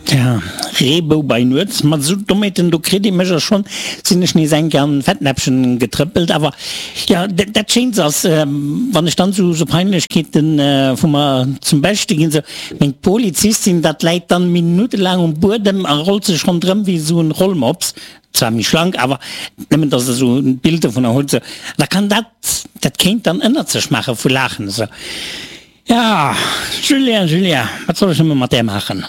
Tja, Reebou bei Nuets, mat esou Dommheeten, do kritt ee mech a schonn sinn ech nees eng Kéier an en Fettnäppchen getrëppelt. Awer jo, dat Schéinst ass, wann ech dann esou Peinlechkeeten vu mer zum Beschte ginn, esou meng Polizistin, dat läit dann minuttelaang um Buedem a rollt sech ronderëm wéi esou en Rollmops, zwar méi schlank, awer nëmmen dass der esou en Bild dovunner hutt, esou, da kann dat, dat kéint dann ënnert sech maache vu Laachen, esou. Ja, Julien, Julien, wat soll ech nëmme mat där maachen?